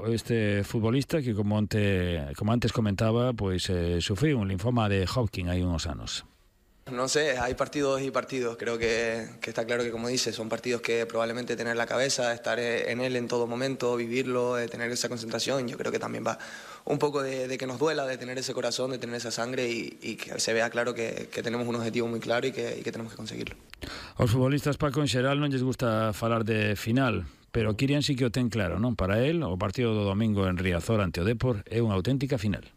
este futbolista que, como antes comentaba, pues sufriu un linfoma de Hodgkin hai uns anos. No sé, hay partidos y partidos. Creo que está claro que, como dices, son partidos que probablemente tener la cabeza, estar en él en todo momento, vivirlo, tener esa concentración. Yo creo que también va un poco de que nos duela, de tener ese corazón, de tener esa sangre y que se vea claro que tenemos un objetivo muy claro y que tenemos que conseguirlo. Aos futbolistas, Paco, en xeral non lles gusta falar de final, pero Kirian sí que o ten claro, non? Para él, o partido do domingo en Riazor ante o Depor é unha auténtica final.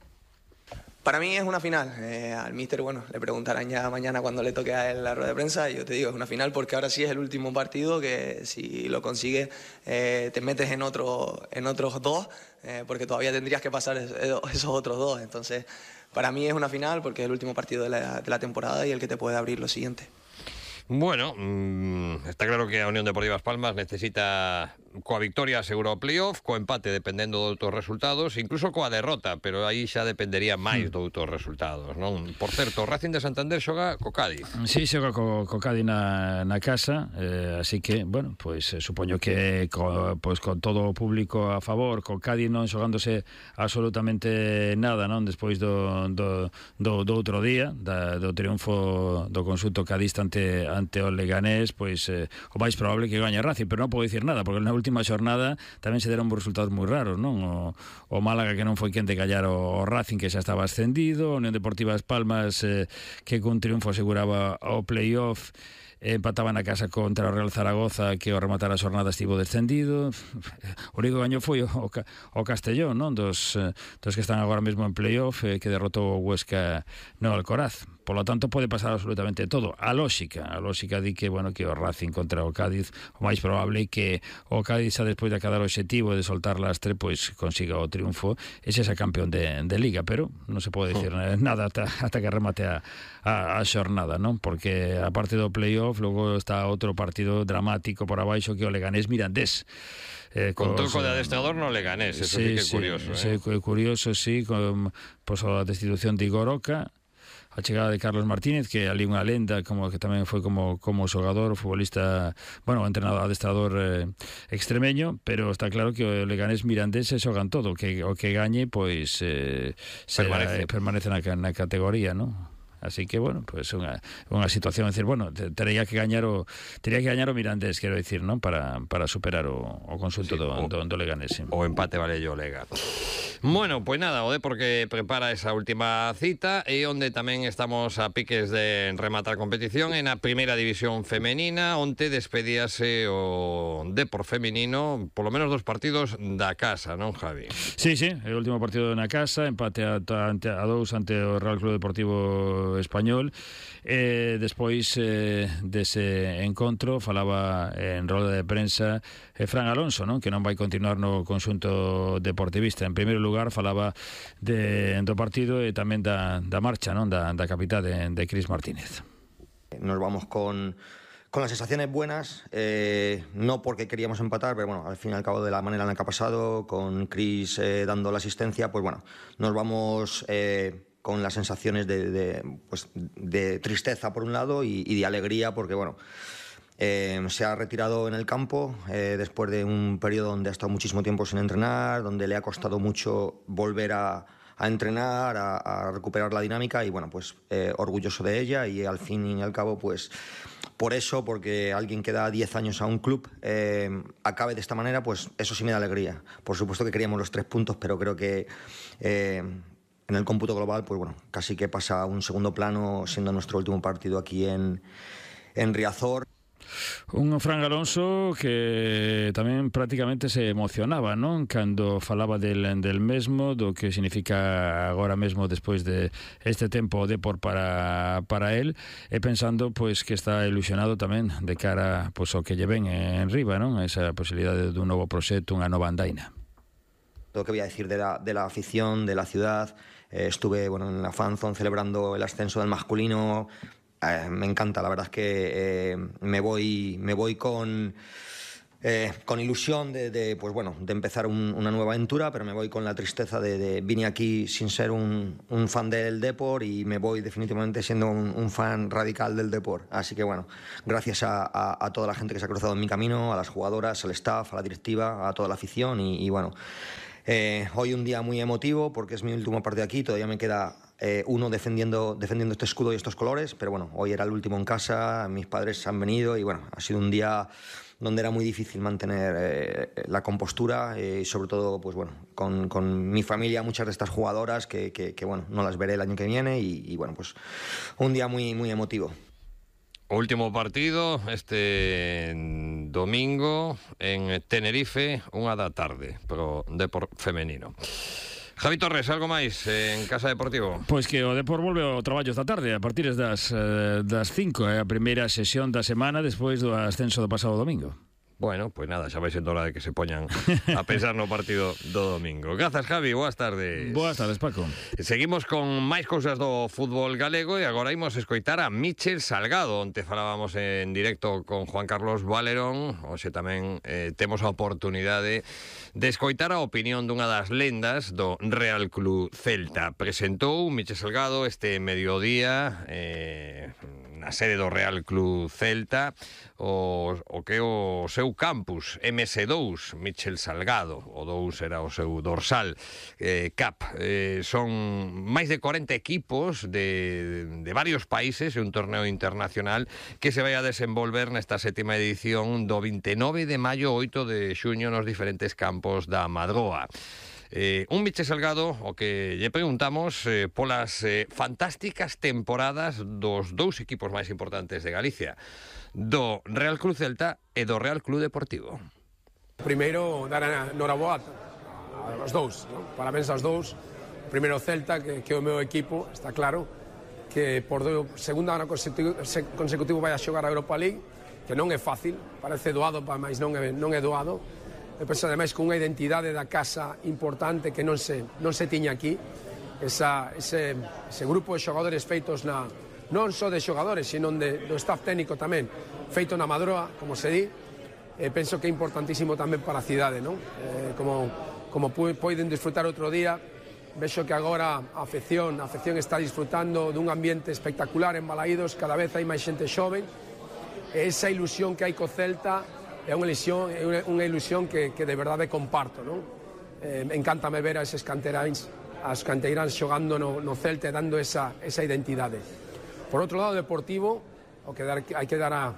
Para mí es una final. Al míster, bueno, le preguntarán ya mañana cuando le toque a él la rueda de prensa. Y yo te digo, es una final porque ahora sí es el último partido que si lo consigues te metes en otros dos, porque todavía tendrías que pasar esos otros dos. Entonces, para mí es una final porque es el último partido de la temporada y el que te puede abrir lo siguiente. Bueno, está claro que a Unión Deportiva As Palmas necesita coa victoria asegura o playoff, co empate dependendo de outros resultados, incluso coa derrota, pero aí xa dependería máis de outros resultados, non? Por certo, o Racing de Santander xoga co Cádiz. Sí, xoga co Cádiz na casa, así que, bueno, pois supoño que con todo o público a favor, co Cádiz non xogándose absolutamente nada, non? Despois do outro día, do triunfo do conxunto cadista ante o Leganés, pois o máis probable que gañe Racing, pero non podo dicir nada, porque na última xornada tamén se deron resultados moi raros, non? O Málaga, que non foi quen de callar o Racing, que xa estaba ascendido, a Unión Deportiva As Palmas, que cun triunfo aseguraba o playoff, empataba na casa contra o Real Zaragoza, que ao rematar a xornada estivo descendido. O único gaño foi o Castellón, non? Dos que están agora mesmo en playoff, que derrotou o Huesca no Alcoraz. Por lo tanto, pode pasar absolutamente todo. A lógica di que, bueno, que o Racing contra o Cádiz, o máis probable que o Cádiz, xa despois de acadar o obxectivo de soltar lastre, pois consiga o triunfo e xa campeón de Liga, pero non se pode dicir nada ata que remate a xornada, non? Porque aparte do playoff, logo está outro partido dramático por abaixo, que o Leganés Mirandés. Con troco de adestrador no Leganés, eso sí que é curioso. Sí, curioso, sí, con a destitución de Igor Oca, a chegada de Carlos Martínez, que ali unha lenda, como que tamén foi como xogador, futbolista, bueno, entrenador, adestrador extremeño, pero está claro que o Leganés Mirandés se xogan todo, que o que gañe, pois permanece na categoría, non? Así que, bueno, pues unha situación, é dicir, bueno, tería que gañar o Mirandés, quero dicir, non? Para superar o conxunto do Leganés. Sí. O empate vale o Lega. Bueno, pues nada, o Depor que prepara esa última cita e onde tamén estamos a piques de rematar competición en a primeira división femenina, onde despedíase o Depor femenino, polo menos 2 partidos da casa, non, Javi? Sí, o último partido na casa, empate a 2 ante o Real Club Deportivo Español. Despois dese encontro falaba en roda de prensa Fran Alonso, non? Que non vai continuar no conxunto deportivista. En primeiro lugar falaba do partido e tamén da marcha, non? Da capitá de Cris Martínez. Nos vamos con las sensaciones buenas, no porque queríamos empatar, pero bueno, al fin y al cabo de la manera en la que ha pasado, con Cris dando la asistencia, pues bueno, nos vamos con las sensaciones de tristeza por un lado y de alegría porque, bueno, se ha retirado en el campo después de un periodo donde ha estado muchísimo tiempo sin entrenar, donde le ha costado mucho volver a entrenar, a recuperar la dinámica y, bueno, pues orgulloso de ella y al fin y al cabo, pues por eso, porque alguien que da 10 años a un club acabe de esta manera, pues eso sí me da alegría. Por supuesto que queríamos los 3 puntos, pero creo que en el cómputo global, pues bueno, casi que pasa a un segundo plano, siendo nuestro último partido aquí en Riazor. Un Fran Alonso que tamén prácticamente se emocionaba, non? Cando falaba del mesmo, do que significa agora mesmo despois de este tempo de por para él, e pensando pois que está ilusionado tamén de cara pois ao que lle ven en riba, non? Esa posibilidade dun novo proxecto, unha nova andaina. Lo que voy a decir de la afición, de la ciudad. Estuve, bueno, en la fanzone celebrando el ascenso del masculino. Me encanta, la verdad es que me voy con ilusión pues bueno, de empezar una nueva aventura, pero me voy con la tristeza de vine aquí sin ser un fan del Depor y me voy definitivamente siendo un fan radical del Depor. Así que bueno, gracias a toda la gente que se ha cruzado en mi camino, a las jugadoras, al staff, a la directiva, a toda la afición y bueno, Hoy un día muy emotivo porque es mi último partido aquí, todavía me queda uno defendiendo este escudo y estos colores, pero bueno, hoy era el último en casa, mis padres han venido y bueno, ha sido un día donde era muy difícil mantener la compostura y sobre todo pues bueno, con mi familia, muchas de estas jugadoras que bueno, no las veré el año que viene y bueno, pues un día muy, muy emotivo. Último partido este domingo en Tenerife, 1:00 pro Depor femenino. Javi Torres, algo máis en Casa Deportivo? Pois que o Depor volve ao traballo esta tarde a partir das 5, a primeira sesión da semana despois do ascenso do pasado domingo. Bueno, pues nada, xa vai sendo hora de que se poñan a pensar no partido do domingo. Grazas, Javi, boas tardes. Boas tardes, Paco. Seguimos con máis cousas do fútbol galego e agora imos escoitar a Michel Salgado, onde falábamos en directo con Juan Carlos Valerón. Hoxe tamén temos a oportunidade de escoitar a opinión dunha das lendas do Real Club Celta. Presentou Michel Salgado este mediodía na sede do Real Club Celta o que é o seu campus MS2, Michel Salgado, o 2 era o seu dorsal CAP. Son máis de 40 equipos de varios países e un torneo internacional que se vai a desenvolver nesta 7ª edición do 29 de maio 8 de xuño nos diferentes campos da Madroa. Un Michel Salgado o que lle preguntamos polas fantásticas temporadas dos dous equipos máis importantes de Galicia, do Real Club Celta e do Real Club Deportivo. Primeiro, dar a noraboa aos dous, ¿no? Parabéns aos dous. Primeiro Celta, que é o meu equipo, está claro, que por segunda ano consecutivo vai a xogar a Europa League, que non é fácil, parece doado, mas non é doado. E penso, ademais, con unha identidade da casa importante que non se tiña aquí, ese grupo de xogadores feitos non só de xogadores, sino do staff técnico tamén, feito na Madroa, como se di, penso que é importantísimo tamén para a cidade, non? Como poden disfrutar outro día, vexo que agora a afección está disfrutando dun ambiente espectacular en Balaídos, cada vez hai máis xente xoven, e esa ilusión que hai co Celta é unha ilusión que de verdade comparto, non? Encántame ver a eses canteiráns xogando no Celta e dando esa identidade. Por outro lado, Deportivo, hai que dar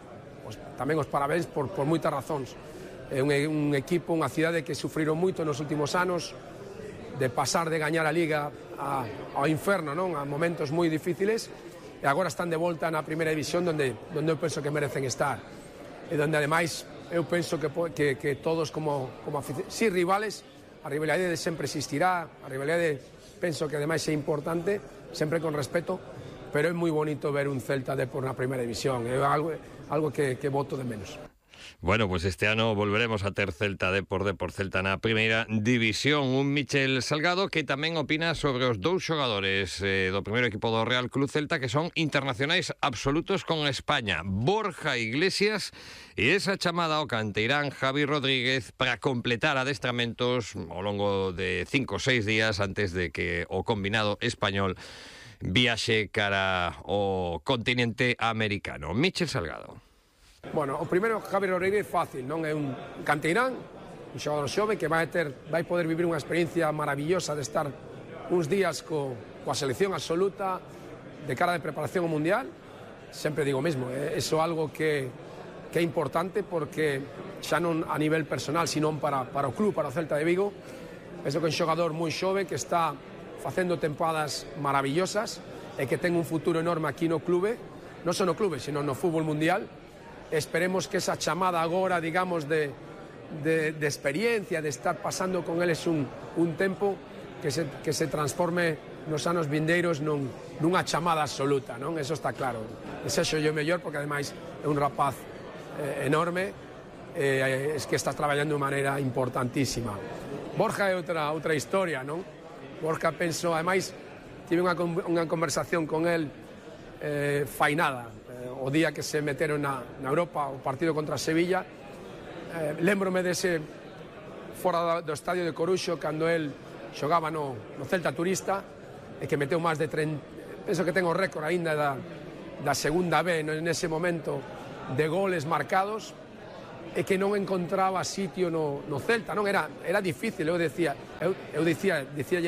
tamén os parabéns por moitas razóns. É un equipo, unha cidade que sufriron moito nos últimos anos, de pasar de gañar a Liga ao inferno, non? A momentos moi difíciles, e agora están de volta na primeira división donde eu penso que merecen estar. E donde, ademais, eu penso que todos como si rivales, a rivalidade sempre existirá, a rivalidade penso que ademais é importante, sempre con respeto, pero é moi bonito ver un Celta por na primeira división, é algo que voto de menos. Bueno, pues este ano volveremos a ter Celta Depor Celta na primeira división. Un Michel Salgado que tamén opina sobre os dous xogadores do primeiro equipo do Real Club Celta que son internacionais absolutos con España, Borja Iglesias e esa chamada ao canteirán Javi Rodríguez para completar adestramentos ao longo de 5 ou 6 días antes de que o combinado español viaxe cara ao continente americano. Michel Salgado. Bueno, o primeiro, Javi Rodríguez, fácil, non? É un canteirán, un xogador xove que vai poder vivir unha experiencia maravillosa de estar uns días coa selección absoluta de cara de preparación ao Mundial. Sempre digo o mesmo, iso é algo que é importante porque xa non a nivel personal, sino para o club, para o Celta de Vigo. Penso que é un xogador moi xove que está facendo tempadas maravillosas e que ten un futuro enorme aquí no clube, non só no clube, sino no fútbol mundial. Esperemos que esa chamada agora, digamos, de experiencia, de estar pasando con eles un tempo que se transforme nos anos vindeiros nunha chamada absoluta, non? Eso está claro. Desexo yo mellor porque ademais é un rapaz enorme, es que está traballando de maneira importantísima. Borja é outra historia, non? Borja, penso, ademais, tive unha conversación con el fainada, o día que se meteron na Europa o partido contra Sevilla. Lembrome dese fora do estadio de Coruxo cando el xogaba no Celta Turista e que meteu máis de 30, penso que ten o récord aínda da segunda B nese momento de goles marcados, e que non encontraba sitio no Celta, non era difícil, eu dicía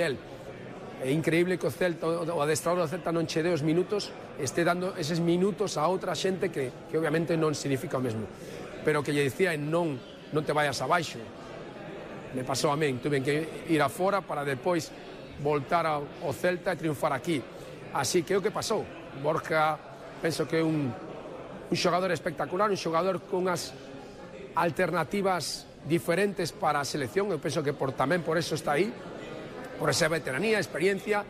el, é increíble que o Celta, o adestrador do Celta non che dé os minutos, este dando eses minutos a outra xente que obviamente non significa o mesmo, pero que lle dicía non te vayas abaixo. Me pasou a min, tuve que ir afora para depois voltar ao Celta e triunfar aquí. Así que é o que pasou. Borja, penso que é un xogador espectacular, un xogador con as alternativas diferentes para a selección, eu penso que tamén por eso está aí, por esa veteranía, experiencia,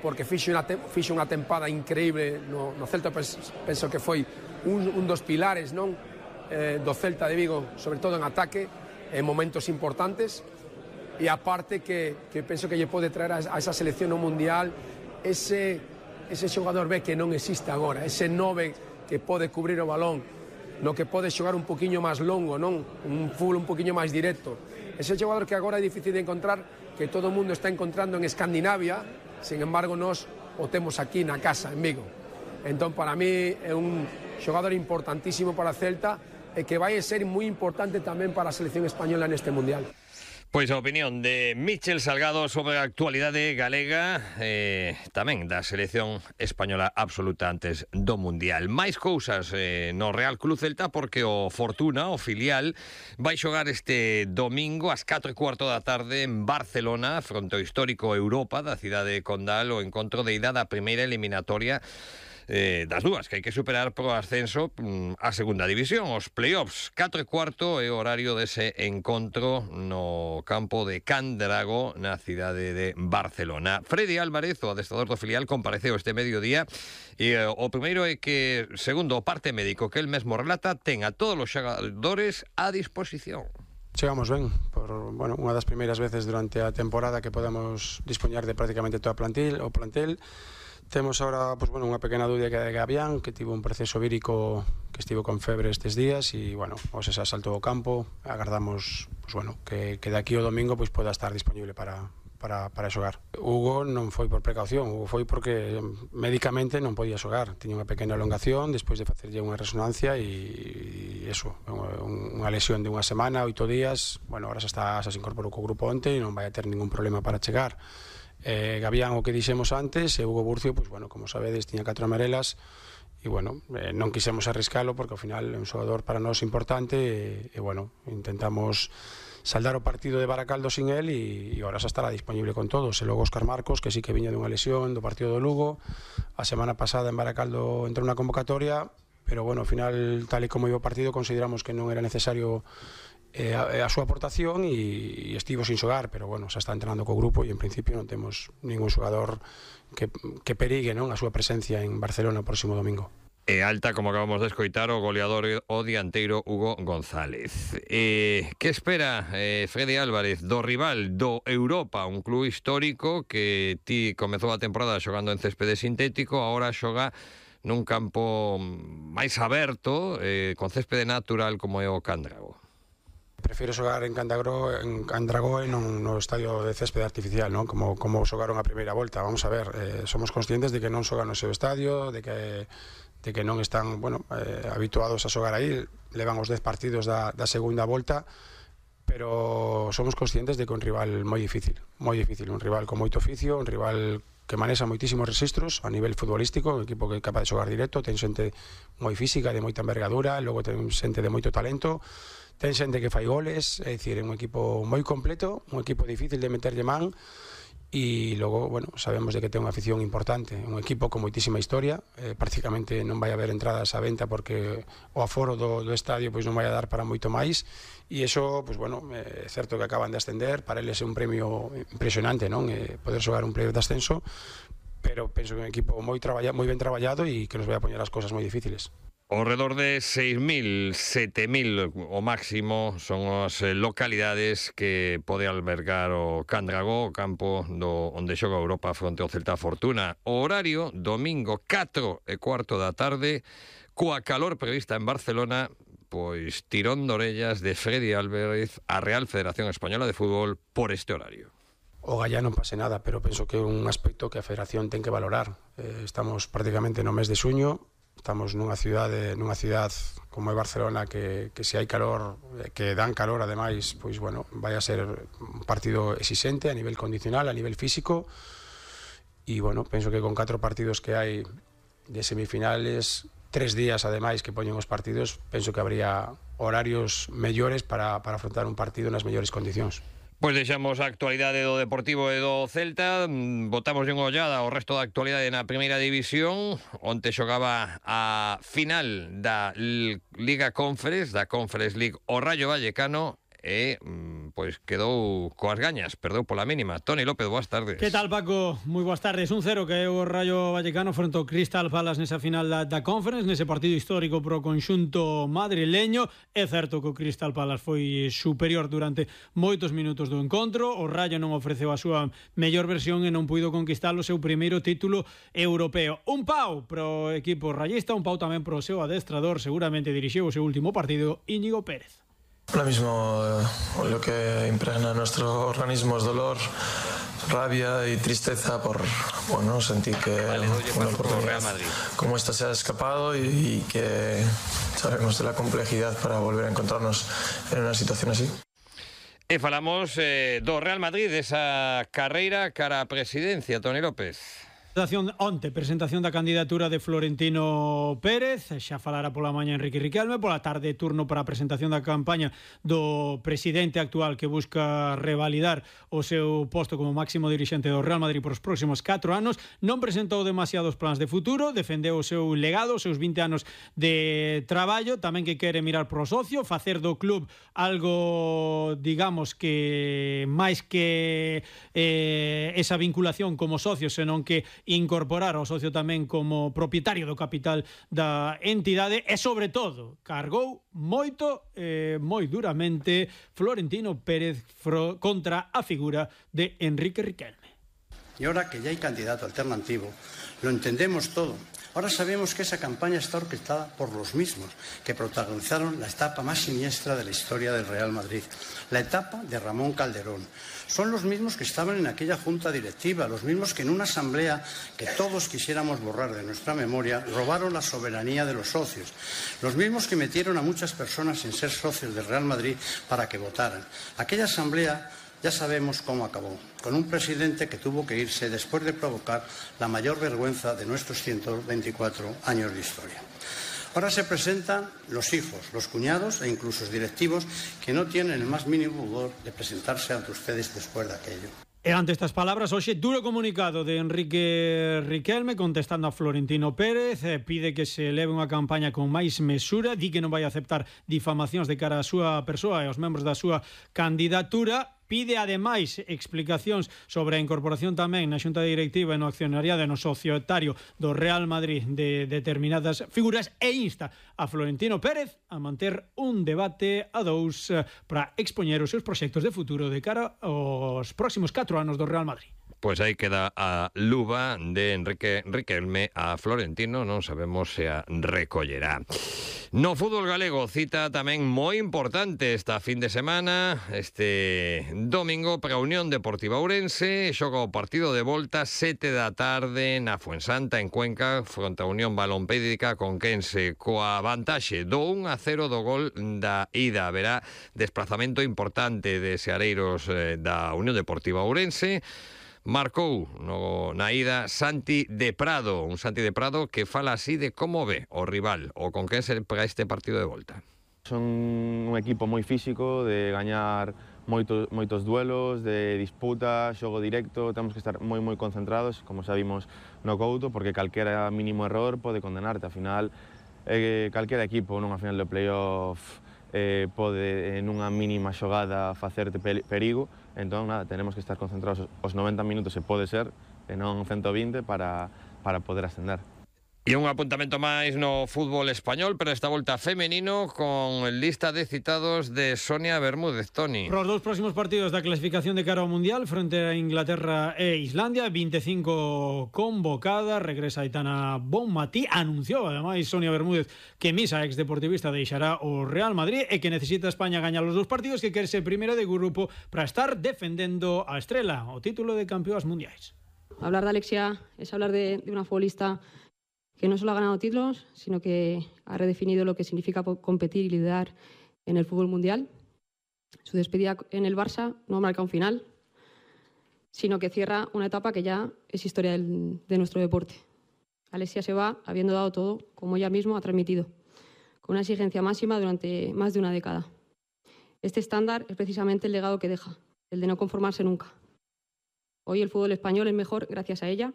porque fixo unha tempada increíble no Celta, penso que foi un dos pilares non do Celta de Vigo, sobre todo en ataque, en momentos importantes, e aparte que penso que lle pode traer a esa selección no Mundial ese xogador B que non existe agora, ese 9 que pode cubrir o balón, no que pode xogar un poquinho máis longo, non? Un fútbol un poquinho máis directo. Ese xogador que agora é difícil de encontrar, que todo o mundo está encontrando en Escandinavia, sin embargo, nós o temos aquí na casa, en Vigo. Entón, para mí, é un xogador importantísimo para a Celta e que vai ser moi importante tamén para a selección española neste Mundial. Pois a opinión de Michel Salgado sobre a actualidade galega, tamén da selección española absoluta antes do Mundial. Máis cousas no Real Club Celta, porque o Fortuna, o filial, vai xogar este domingo ás 4:15 da tarde en Barcelona, fronte ao histórico Europa da cidade de Condal, o encontro de ida da primeira eliminatoria das dúas que hai que superar pro ascenso a segunda división, os playoffs. 4:15 é o horario dese encontro no campo de Can Dragó, na cidade de Barcelona. Freddy Álvarez, o adestrador do filial, compareceu este mediodía e o primeiro é que, segundo o parte médico que el mesmo relata, ten a todos os xogadores a disposición. Chegamos ben, por unha das primeiras veces durante a temporada que podemos dispoñar de prácticamente toda o plantel. Temos agora unha pequena dúbida que é de Gabián, que tivo un proceso vírico que estivo con febre estes días e, se saltou ao campo. Agardamos que de aquí ao domingo poda estar disponible para xogar. Hugo non foi por precaución, Hugo foi porque médicamente non podía xogar. Tiña unha pequena elongación despois de facerlle unha resonancia e unha lesión de unha semana, 8 días. Agora xa se incorporou co grupo onte e non vai a ter ningún problema para chegar. Gabián, o que dixemos antes, e Hugo Burcio, como sabedes, tiña 4 amarelas e non quisemos arriscalo porque ao final é un xogador para nós importante e intentamos saldar o partido de Baracaldo sin él e agora xa estará disponible con todos. E logo Óscar Marcos, que sí que viña dunha lesión do partido do Lugo, a semana pasada en Baracaldo entrou na convocatoria, pero ao final, tal e como iba o partido, consideramos que non era necesario a súa aportación e estivo sin xogar, pero xa está entrenando co grupo e en principio non temos ningún xogador que perigue a súa presencia en Barcelona o próximo domingo. E alta, como acabamos de escoitar, o goleador o dianteiro Hugo González. Que espera Freddy Álvarez do rival do Europa, un club histórico que ti comezou a temporada xogando en céspede sintético, agora xoga nun campo máis aberto, con céspede natural como é o Can Dragó? Prefiro xogar en Can Dragó e non no estadio de céspede artificial, como xogaron a primeira volta. Vamos a ver, somos conscientes de que non xogan no seu estadio, de que non están habituados a xogar aí, levan os 10 partidos da segunda volta, pero somos conscientes de que é un rival moi difícil, un rival con moito oficio, un rival que manexa moitísimos registros a nivel futbolístico, un equipo que é capaz de xogar directo, ten xente moi física, de moita envergadura, logo ten xente de moito talento, ten xente que fai goles, é dicir, é un equipo moi completo, un equipo difícil de meterlle man e logo, sabemos de que ten unha afición importante, un equipo con moitísima historia, prácticamente non vai haber entradas á venta porque o aforo do estadio non vai a dar para moito máis e iso, é certo que acaban de ascender, para eles é un premio impresionante, poder xogar un playoff de ascenso, pero penso que é un equipo moi ben traballado e que nos vai a poñer as cosas moi difíciles. Ao redor de 6.000, 7.000 o máximo son as localidades que pode albergar o Can Dragó, o campo onde xoga Europa fronte ao Celta Fortuna. O horario, domingo 4:15 da tarde, coa calor prevista en Barcelona, pois tirón de orellas de Freddy Álvarez a Real Federación Española de Fútbol por este horario. O Gallá non pase nada, pero penso que é un aspecto que a Federación ten que valorar. Estamos prácticamente no mes de xuño, Estamos nunha ciudad como é Barcelona que se hai calor, que dan calor ademais, pois bueno, vai a ser un partido exixente a nivel condicional, a nivel físico, e bueno, penso que con 4 partidos que hai de semifinales, 3 días ademais que poñen os partidos, penso que habría horarios mellores para afrontar un partido nas mellores condicións. Pois deixamos a actualidade do Deportivo e do Celta, botamos unha ollada ao resto da actualidade na Primeira División, onte xogaba a final da Liga Conference, da Conference League, o Rayo Vallecano, e pois quedou coas gañas, perdeu pola mínima. Toni López, boas tardes. Que tal, Paco? Moi boas tardes. 1-0 que é o Rayo Vallecano fronte ao Crystal Palace nesa final da Conference, nese partido histórico pro conxunto madrileño. É certo que o Crystal Palace foi superior durante moitos minutos do encontro. O Rayo non ofreceu a súa mellor versión e non puido conquistar o seu primeiro título europeo. Un pau pro equipo rayista, un pau tamén pro seu adestrador, seguramente dirixiu o seu último partido, Íñigo Pérez. Ahora mismo lo que impregna nuestro organismo es dolor, rabia y tristeza por sentir que una oportunidad como esta se ha escapado y que sabemos de la complejidad para volver a encontrarnos en una situación así. E falamos do Real Madrid, desa carreira cara a presidencia, Toni López. Presentación da candidatura de Florentino Pérez, xa falara pola mañá Enrique Riquelme, pola tarde turno para a presentación da campaña do presidente actual que busca revalidar o seu posto como máximo dirixente do Real Madrid por os próximos 4 anos. Non presentou demasiados plans de futuro, defendeu o seu legado, os seus 20 anos de traballo, tamén que quere mirar pro socio, facer do club algo, digamos, que máis que esa vinculación como socio, senón que incorporar ao socio tamén como propietario do capital da entidade e, sobre todo, cargou moito, moi duramente Florentino Pérez contra a figura de Enrique Riquelme. Y ahora que ya hay candidato alternativo, lo entendemos todo. Ahora sabemos que esa campaña está orquestada por los mismos que protagonizaron la etapa más siniestra de la historia del Real Madrid, la etapa de Ramón Calderón. Son los mismos que estaban en aquella junta directiva, los mismos que en una asamblea que todos quisiéramos borrar de nuestra memoria, robaron la soberanía de los socios, los mismos que metieron a muchas personas sin ser socios del Real Madrid para que votaran. Aquella asamblea ya sabemos cómo acabó, con un presidente que tuvo que irse después de provocar la mayor vergüenza de nuestros 124 años de historia. Ahora se presentan los hijos, los cuñados e incluso los directivos que no tienen el más mínimo pudor de presentarse ante ustedes después de aquello. E ante estas palabras, hoxe duro comunicado de Enrique Riquelme contestando a Florentino Pérez, pide que se leve unha campaña con máis mesura, di que non vai aceptar difamacións de cara á súa persoa e aos membros da súa candidatura. Pide, ademais, explicacións sobre a incorporación tamén na xunta directiva e no accionariado e no societario do Real Madrid de determinadas figuras e insta a Florentino Pérez a manter un debate a dous para expoñer os seus proxectos de futuro de cara aos próximos 4 anos do Real Madrid. Pois aí queda a luva de Enrique Riquelme a Florentino, non sabemos se a recollerá. No fútbol galego, cita tamén moi importante esta fin de semana, este domingo para a Unión Deportiva Ourense, xoga o partido de volta 7 da tarde na Fuensanta en Cuenca fronte a Unión Balompédica Conquense, coa vantaxe do 1-0 do gol da ida. Haberá desplazamento importante de seareiros da Unión Deportiva Ourense. Marcou na ida Santi de Prado, un Santi de Prado que fala así de como ve o rival, o con quen se para este partido de volta. Son un equipo moi físico, de gañar moitos duelos, de disputa, xogo directo, temos que estar moi concentrados, como xa vimos no Couto, porque calquera mínimo error pode condenarte. Ao final, calquera equipo nunha final de playoff pode nunha mínima xogada facerte perigo, entón nada, tenemos que estar concentrados os 90 minutos, se pode ser, e non 120 para poder ascender. E un apuntamento máis no fútbol español, pero esta volta femenino con lista de citados de Sonia Bermúdez. Toni. Para os dous próximos partidos da clasificación de cara ao Mundial fronte a Inglaterra e Islandia, 25 convocadas, regresa Aitana Bonmatí, anunciou ademais Sonia Bermúdez que Misa, ex-deportivista, deixará o Real Madrid e que necesita España gañar os dous partidos, que quere ser primeira de grupo para estar defendendo a Estrela, o título de campeoas mundiais. Hablar de Alexia es hablar de una futbolista que no solo ha ganado títulos, sino que ha redefinido lo que significa competir y liderar en el fútbol mundial. Su despedida en el Barça no marca un final, sino que cierra una etapa que ya es historia de nuestro deporte. Alexia se va habiendo dado todo, como ella misma ha transmitido, con una exigencia máxima durante más de una década. Este estándar es precisamente el legado que deja, el de no conformarse nunca. Hoy el fútbol español es mejor gracias a ella,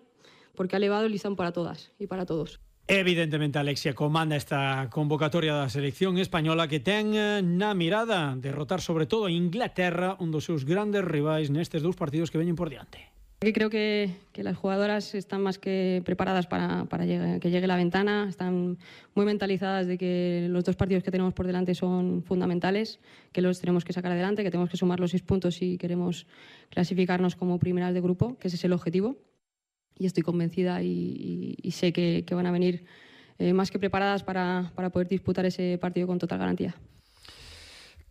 porque ha elevado el listón para todas y para todos. Evidentemente, Alexia comanda esta convocatoria da selección española que ten na mirada derrotar sobre todo a Inglaterra, un dos seus grandes rivais nestes dous partidos que veñen por diante. Creo que las jugadoras están más que preparadas para que llegue la ventana, están muy mentalizadas de que los dos partidos que tenemos por delante son fundamentales, que los tenemos que sacar adelante, que tenemos que sumar los 6 puntos si queremos clasificarnos como primeras de grupo, que ese es el objetivo. Y estoy convencida y sé que van a venir más que preparadas para poder disputar ese partido con total garantía.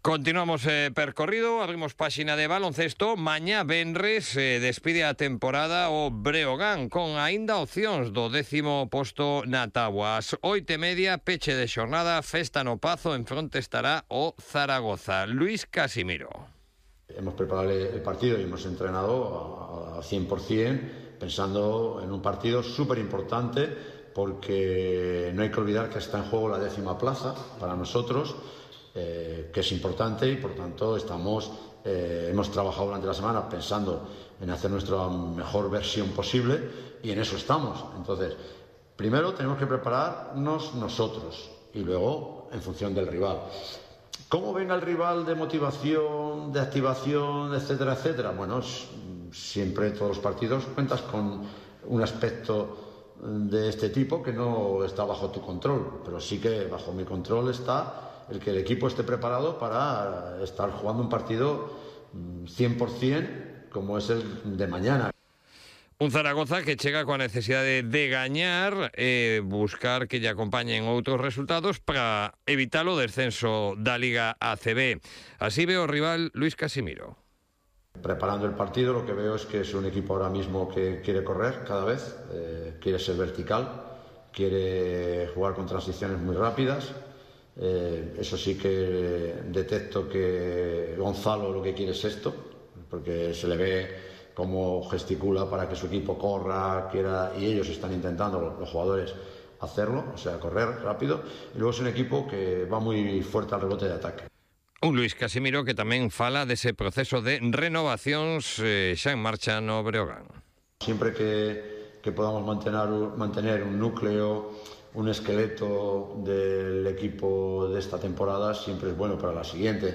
Continuamos percorrido, abrimos páxina de baloncesto. Mañá venres despide a temporada o Breogán con aínda opcións do 10º posto na táboa. Ás 8:30, peche de xornada, festa no Pazo, en fronte estará o Zaragoza. Luis Casimiro. Hemos preparado el partido y hemos entrenado al 100%, pensando en un partido súper importante, porque no hay que olvidar que está en juego la 10ª plaza para nosotros, que es importante, y por tanto hemos trabajado durante la semana pensando en hacer nuestra mejor versión posible, y en eso estamos. Entonces, primero tenemos que prepararnos nosotros y luego en función del rival. ¿Cómo venga el rival de motivación, de activación, etcétera, etcétera? Bueno, siempre en todos los partidos cuentas con un aspecto de este tipo que no está bajo tu control, pero sí que bajo mi control está el que el equipo esté preparado para estar jugando un partido 100% como es el de mañana. Un Zaragoza que chega coa necesidade de gañar e buscar que lle acompañen outros resultados para evitar o descenso da Liga ACB. Así ve o rival Luis Casimiro. Preparando el partido, lo que veo es que es un equipo ahora mismo que quiere correr cada vez, quiere ser vertical, quiere jugar con transiciones muy rápidas. Eso sí que detecto que Gonzalo lo que quiere es esto, porque se le ve cómo gesticula para que su equipo corra, quiera, y ellos están intentando, los jugadores, hacerlo, o sea, correr rápido. Y luego es un equipo que va muy fuerte al rebote de ataque. Un Luis Casimiro que tamén fala dese proceso de renovacións xa en marcha no Breogán. Siempre que podamos mantener un núcleo, un esqueleto del equipo de esta temporada, siempre es bueno para la siguiente,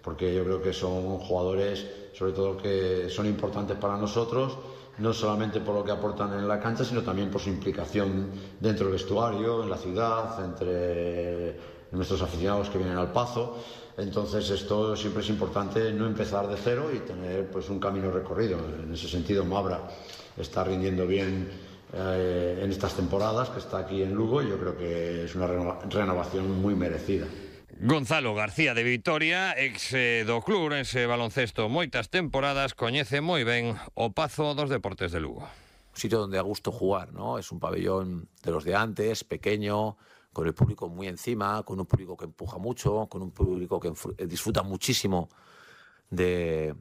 porque yo creo que son jugadores, sobre todo, que son importantes para nosotros, no solamente por lo que aportan en la cancha, sino también por su implicación dentro del vestuario, en la ciudad, entre nuestros aficionados que vienen al Pazo. Entonces esto siempre es importante, no empezar de cero y tener pues un camino recorrido. En ese sentido, Mabra está rindiendo bien en estas temporadas, que está aquí en Lugo, y yo creo que es una renovación muy merecida. Gonzalo García de Vitoria, ex do club ourense baloncesto moitas temporadas, coñece moi ben o Pazo dos Deportes de Lugo. Un sitio donde da gusto jugar, ¿no? Es un pabellón de los de antes, pequeño, con el público muy encima, con un público que empuja mucho, con un público que disfruta muchísimo de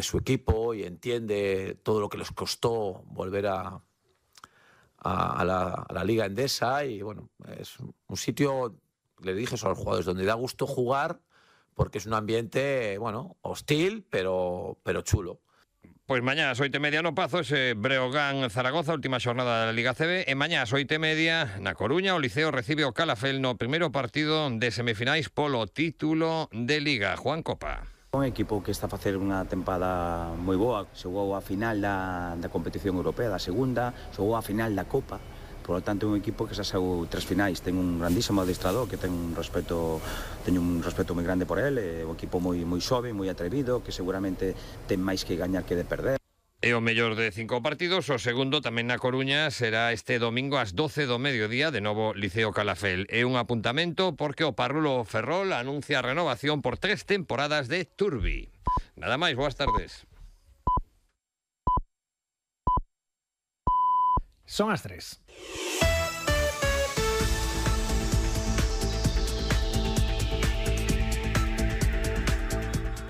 su equipo y entiende todo lo que les costó volver a la Liga Endesa. Y bueno, es un sitio, le dije eso a los jugadores, donde da gusto jugar, porque es un ambiente, bueno, hostil, pero chulo. Pois mañá ás 8:30 no Pazo, ese Breogán-Zaragoza, última xornada da Liga CB, e mañá ás 8:30 na Coruña o Liceo recibe o Calafel no primeiro partido de semifinais polo título de Liga. Juan Copa. Un equipo que está a facer unha tempada moi boa, xogou a final da competición europea, da segunda, xogou a final da Copa. Por lo tanto, un equipo que xa saou 3 finais, ten un grandísimo adestrador que teño un respeto moi grande por ele, un equipo moi xove, moi atrevido, que seguramente ten máis que gañar que de perder. E o mellor de 5 partidos, o segundo tamén na Coruña será este domingo ás 12 do mediodía, de novo Liceo Calafel. É un apuntamento porque o Parrulo Ferrol anuncia a renovación por 3 temporadas de Turbi. Nada máis, boas tardes. Son as 3.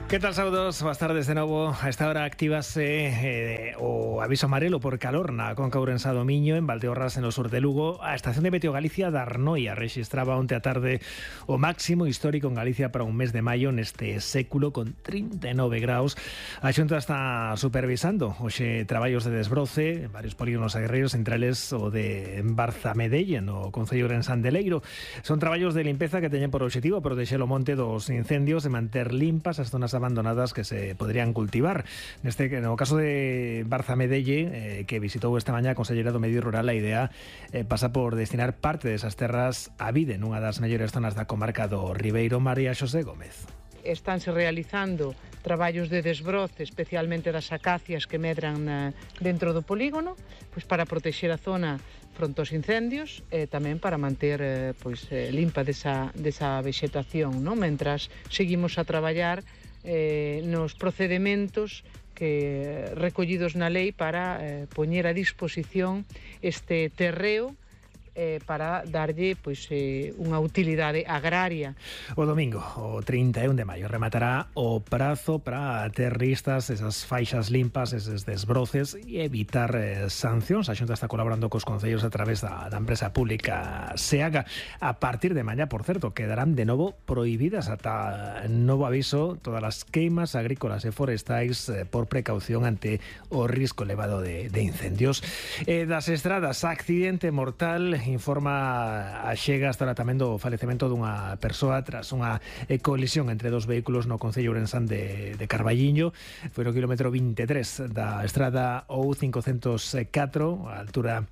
Que tal, saúdos? Boas tardes de novo. A esta hora actívase o aviso amarelo por calor na Conca Ourensa do Miño, en Valdeorras, en o sur de Lugo. A estación de Meteo Galicia da Arnoia rexistraba onte a tarde o máximo histórico en Galicia para un mes de maio neste século, con 39 graus. A Xunta está supervisando hoxe traballos de desbroce en varios polígonos aguerreiros, entre eles o de Barzamedelle, no Concello Ourensán de Leiro. Son traballos de limpeza que teñen por obxectivo protexer o monte dos incendios e manter limpas as zonas abandonadas que se podrían cultivar. No caso de Barzamedelle, que visitou esta mañá a Conselleira do Medio Rural, a idea pasa por destinar parte desas terras a vide nunha das mellores zonas da comarca do Ribeiro. María Xosé Gómez. Estánse realizando traballos de desbroce, especialmente das acacias que medran dentro do polígono, pois para protexer a zona fronte aos incendios e tamén para manter limpa desa vexetación, non? Mentras seguimos a traballar nos procedementos que recollidos na lei para poñer a disposición este terreo para darlle unha utilidade agraria. O domingo, o 31 de maio, rematará o prazo para ter listas esas faixas limpas, eses desbroces e evitar sancións. A Xunta está colaborando cos concellos a través da empresa pública SEAGA. A partir de mañá, por certo, quedarán de novo prohibidas ata novo aviso todas as queimas agrícolas e forestais por precaución ante o risco elevado de incendios. Das estradas, accidente mortal, informa a Xega hasta tamén do falecemento dunha persoa tras unha colisión entre dos vehículos no Concello Ourensán de Carballiño. Foi no kilómetro 23 da estrada OU504, a altura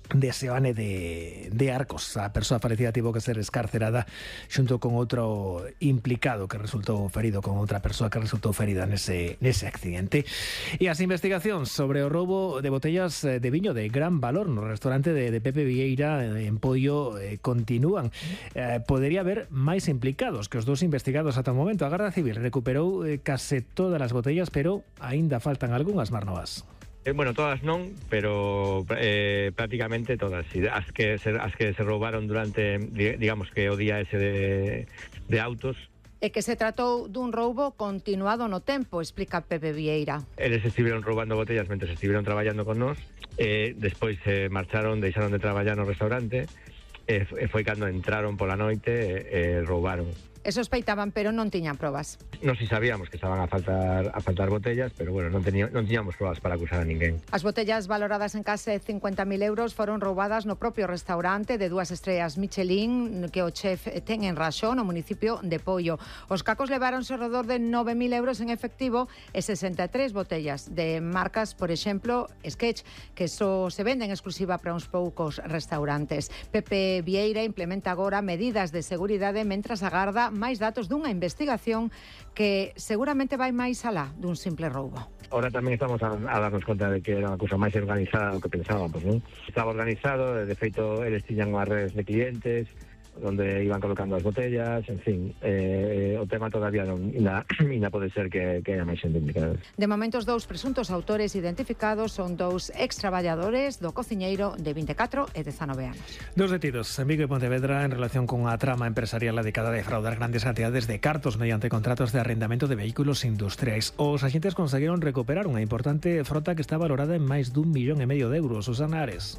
de Seoane de Arcos. A persoa falecida tivo que ser escarcerada xunto con outro implicado que resultou ferido, con outra persoa que resultou ferida nese accidente. E as investigacións sobre o roubo de botellas de viño de gran valor no restaurante de Pepe Vieira en Poio continúan. Podería haber máis implicados que os dous investigados ata o momento. A Garda Civil recuperou case todas as botellas, pero aínda faltan algunhas, Marnovas. Bueno, todas non, pero prácticamente todas. As que se roubaron durante, digamos que o día ese de autos. E que se tratou dun roubo continuado no tempo, explica Pepe Vieira. Eles estiveron roubando botellas mentre estiveron traballando con nós, despois marcharon, deixaron de traballar no restaurante, e foi cando entraron pola noite e roubaron. E sospeitaban, pero non tiñan probas. Non si sabíamos que estaban a faltar botellas, pero bueno, non tiñamos probas para acusar a ninguén. As botellas valoradas en case 50.000 euros foron roubadas no propio restaurante de 2 estrellas Michelin que o chef ten en Raxó, no municipio de Poio. Os cacos leváronse ao redor de 9.000 euros en efectivo e 63 botellas de marcas, por exemplo, Sketch, que só se venden exclusiva para uns poucos restaurantes. Pepe Vieira implementa agora medidas de seguridade mentras agarda máis datos dunha investigación que seguramente vai máis alá dun simple roubo. Ahora tamén estamos a darnos conta de que era unha cousa máis organizada do que pensábamos, non? Estaba organizado, de feito, eles tiñan unhas redes de clientes onde iban colocando as botellas, en fin, o tema todavía ainda pode ser que haya máis xente implicada. De momento, os dous presuntos autores identificados son dous ex-traballadores do cociñeiro de 24 e 19 anos. Dos detidos en Vigo e Pontevedra en relación con a trama empresarial dedicada a defraudar grandes cantidades de cartos mediante contratos de arrendamento de vehículos industriais. Os axentes conseguiron recuperar unha importante frota que está valorada en máis dun 1,5 millón de euros. Susana Ares.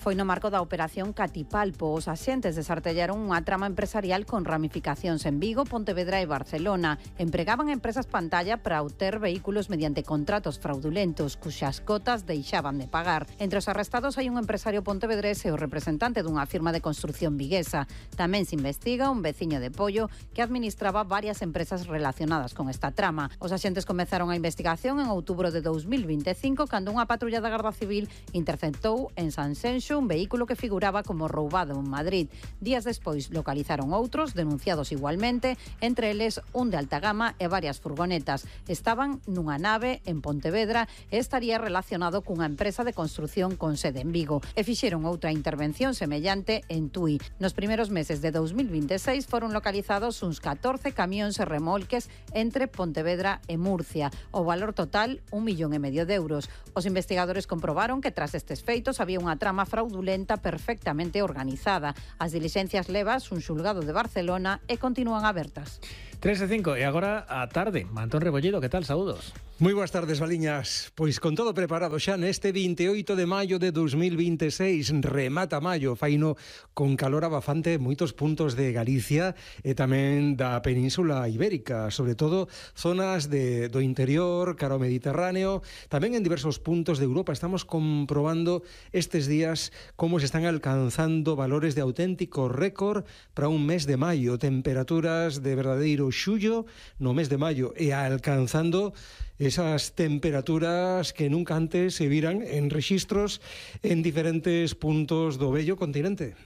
Foi no marco da operación Catipalpo. Os axentes desartellaron unha trama empresarial con ramificacións en Vigo, Pontevedra e Barcelona. Empregaban empresas pantalla para obter vehículos mediante contratos fraudulentos, cuxas cotas deixaban de pagar. Entre os arrestados hai un empresario pontevedrés e o representante dunha firma de construcción viguesa. Tamén se investiga un veciño de Poio que administraba varias empresas relacionadas con esta trama. Os axentes comezaron a investigación en outubro de 2025 cando unha patrulla da Garda Civil interceptou en Sanxenxo un vehículo que figuraba como roubado en Madrid. Días despois localizaron outros, denunciados igualmente, entre eles un de alta gama e varias furgonetas. Estaban nunha nave en Pontevedra e estaría relacionado cunha empresa de construción con sede en Vigo. E fixeron outra intervención semellante en Tui. Nos primeiros meses de 2026 foron localizados uns 14 camións e remolques entre Pontevedra e Murcia. O valor total, 1,5 millón de euros. Os investigadores comprobaron que tras estes feitos había unha trama fraudulenta fraudulenta perfectamente organizada. As dilixencias levas un xulgado de Barcelona e continúan abertas. 3:05 e agora a tarde. Antón Rebolledo, que tal? Saúdos. Moi boas tardes, Valiñas. Pois con todo preparado xa neste 28 de maio de 2026, remata maio, faino con calor abafante en moitos puntos de Galicia e tamén da Península Ibérica, sobre todo zonas do interior, cara ao Mediterráneo, tamén en diversos puntos de Europa. Estamos comprobando estes días como se están alcanzando valores de auténtico récord para un mes de maio, temperaturas de verdadeiro xullo no mes de maio e alcanzando esas temperaturas que nunca antes se viran en rexistros en diferentes puntos do bello continente.